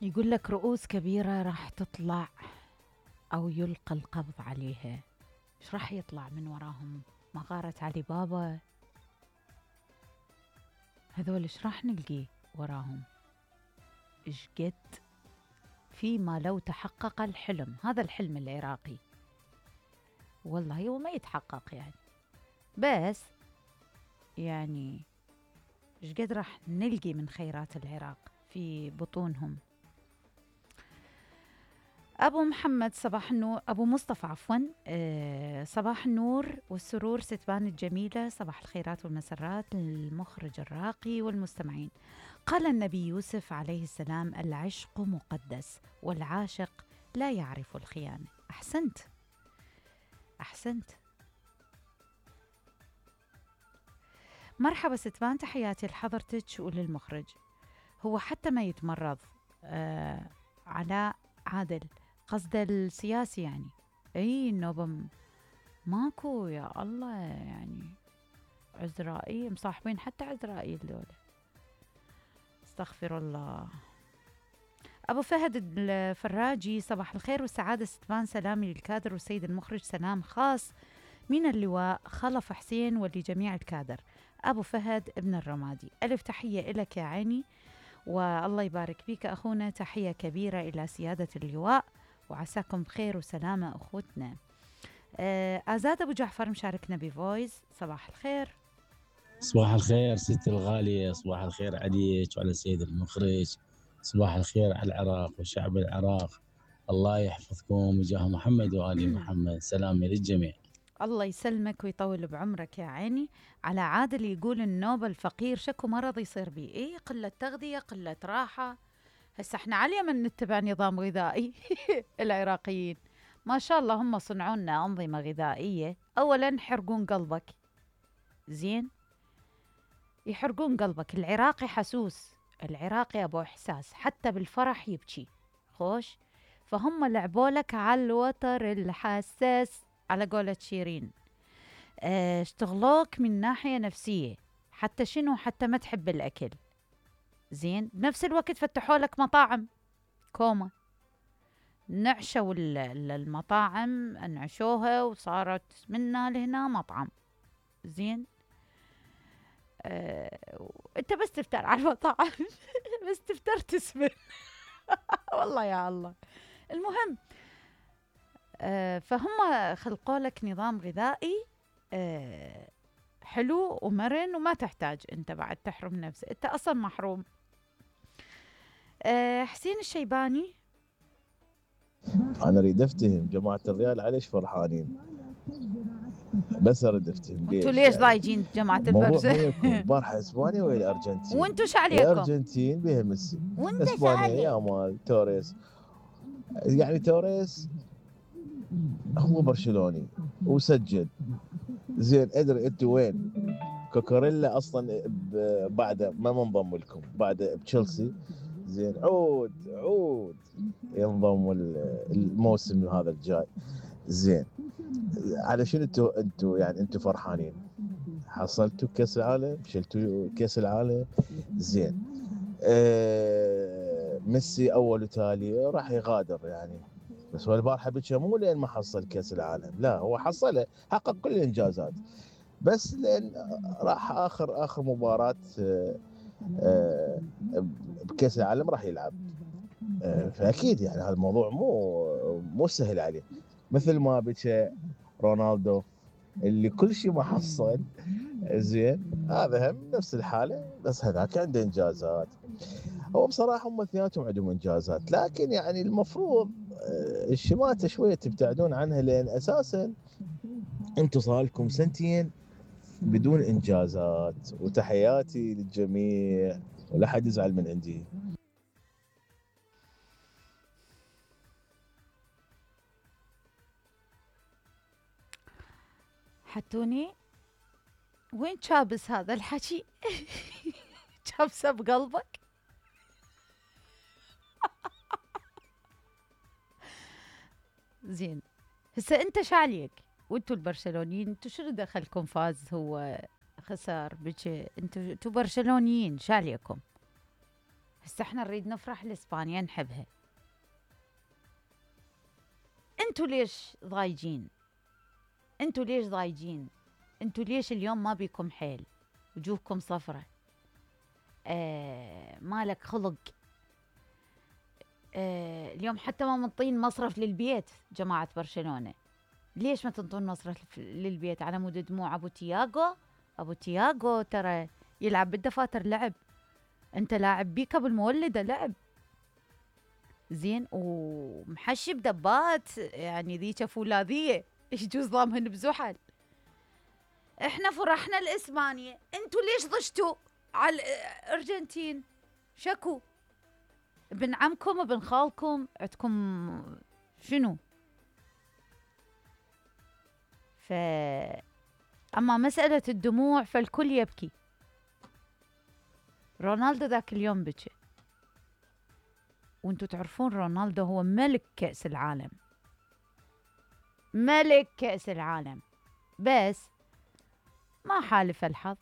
يقول لك رؤوس كبيرة راح تطلع أو يلقى القبض عليها. إيش راح يطلع من وراهم؟ مغارة علي بابا؟ هذول إيش راح نلقي وراهم؟ إيش قد فيما لو تحقق الحلم، هذا الحلم العراقي والله هو ما يتحقق يعني، بس يعني إيش قد راح نلقي من خيرات العراق في بطونهم. أبو محمد صباح النور، أبو مصطفى عفوا، صباح النور والسرور ستبان الجميلة، صباح الخيرات والمسرات للمخرج الراقي والمستمعين. قال النبي يوسف عليه السلام: العشق مقدس والعاشق لا يعرف الخيانة. أحسنت أحسنت. مرحبا ستبان، تحياتي لحضرتك وللمخرج. هو حتى ما يتمرض علاء عادل، قصد السياسي يعني. اي النوبة ماكو يا الله يعني، عزرائيل مصاحبين حتى عزرائيل دول، استغفر الله. أبو فهد الفراجي صباح الخير والسعادة ستبان، سلامي للكادر والسيد المخرج، سلام خاص من اللواء خلف حسين ولجميع الكادر. أبو فهد ابن الرمادي، ألف تحية إلك يا عيني والله يبارك فيك أخونا، تحية كبيرة إلى سيادة اللواء وعساكم بخير وسلامة أخوتنا. آزاد أبو جعفر مشاركنا بفويس، صباح الخير. صباح الخير ستي الغالية، صباح الخير عليك وعلى السيد المخرج، صباح الخير على العراق وشعب العراق، الله يحفظكم وجاه محمد وآل محمد، سلامي للجميع. الله يسلمك ويطول بعمرك يا عيني. على عادل يقول النوبة الفقير شكو مرض يصير بيه، إيه قلة تغذية قلة راحة. هسه احنا على اليمن نتبع نظام غذائي العراقيين ما شاء الله هم صنعوا لنا أنظمة غذائية. أولا يحرقون قلبك، زين يحرقون قلبك. العراقي حسوس، العراقي أبو إحساس، حتى بالفرح يبكي خوش. فهم لعبوا لك على الوتر الحساس على قولة شيرين. اشتغلوك من ناحية نفسية، حتى شنو، حتى ما تحب الأكل، زين. بنفس الوقت فتحوا لك مطاعم كوما، نعشوا المطاعم، انعشوها وصارت منا لهنا مطعم، زين. انت بس تفتر على المطاعم بس تفتر تسمن والله يا الله. المهم فهم خلقوا لك نظام غذائي حلو ومرن، وما تحتاج انت بعد تحرم نفسك، انت اصلا محروم. حسين الشيباني: انا اريد افتهم جماعه الريال عليش فرحانين، بس اريد افتهم انتوا ليش ليش يعني. ضايجين جماعة الموضوع البرزة؟ مو يكون البارحه اسبانيا ولا الارجنتين؟ وانتوا شو عليكم؟ الارجنتين بها ميسي، وانت شو اسبانيا يا عليك؟ مال توريس. يعني توريس هو برشلوني وسجل، زين. ادري انتوا وين؟ كوكوريلا اصلا بعد ما منضم لكم، بعد بتشيلسي، زين. عود ينضم الموسم هذا الجاي، زين. على شنو انتوا يعني انتوا فرحانين؟ حصلتوا كاس العالم، شلتوا كاس العالم، زين. ميسي اول وتالي راح يغادر يعني، بس هو البارحه بكى مو لين ما حصل كاس العالم، لا هو حصله، حقق كل الانجازات، بس لان راح اخر مباراه بكاس العالم راح يلعب. فاكيد يعني هذا الموضوع مو سهل عليه. مثل ما بكى رونالدو اللي كل شيء ما حصل، زين. هذا هم نفس الحاله، بس هذاك عنده انجازات. هو بصراحه هم اثنيناتهم عندهم انجازات، لكن يعني المفروض الشماته شويه تبتعدون عنها، لان اساسا انتم صار لكم سنتين بدون انجازات. وتحياتي للجميع ولا حد يزعل من عندي. حتوني وين شابس هذا الحكي؟ شابسه بقلبك؟ زين. هسه انت شعليك وانتوا البرشلونيين، انتوا شنو دخلكم؟ فاز هو خسر بكي، انتوا برشلونيين شعليكم. هسه احنا نريد نفرح لإسبانيا نحبها. انتوا ليش ضايجين؟ انتوا ليش ضايجين؟ انتوا ليش اليوم ما بيكم حيل؟ وجوهكم صفرة، مالك خلق. اليوم حتى ما منطين مصرف للبيت جماعة برشلونة. ليش ما تنطون مصرف للبيت على مود دموع أبو تياغو؟ أبو تياغو ترى يلعب بالدفاتر لعب، أنت لاعب بيك بالمولدة لعب زين ومحشي بدبات، يعني ذيك فولاذية إيش جوز ضامهن بزحل. إحنا فرحنا لإسبانيا، أنتوا ليش ضجتوا على الأرجنتين؟ شكو ابن عمكم ابن خالكم عندكم شنو؟ أما مسألة الدموع فالكل يبكي. رونالدو ذاك اليوم بكى، وانتوا تعرفون رونالدو هو ملك كأس العالم، ملك كأس العالم، بس ما حالف الحظ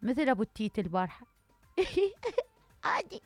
مثل أبو التيت البارحة عادي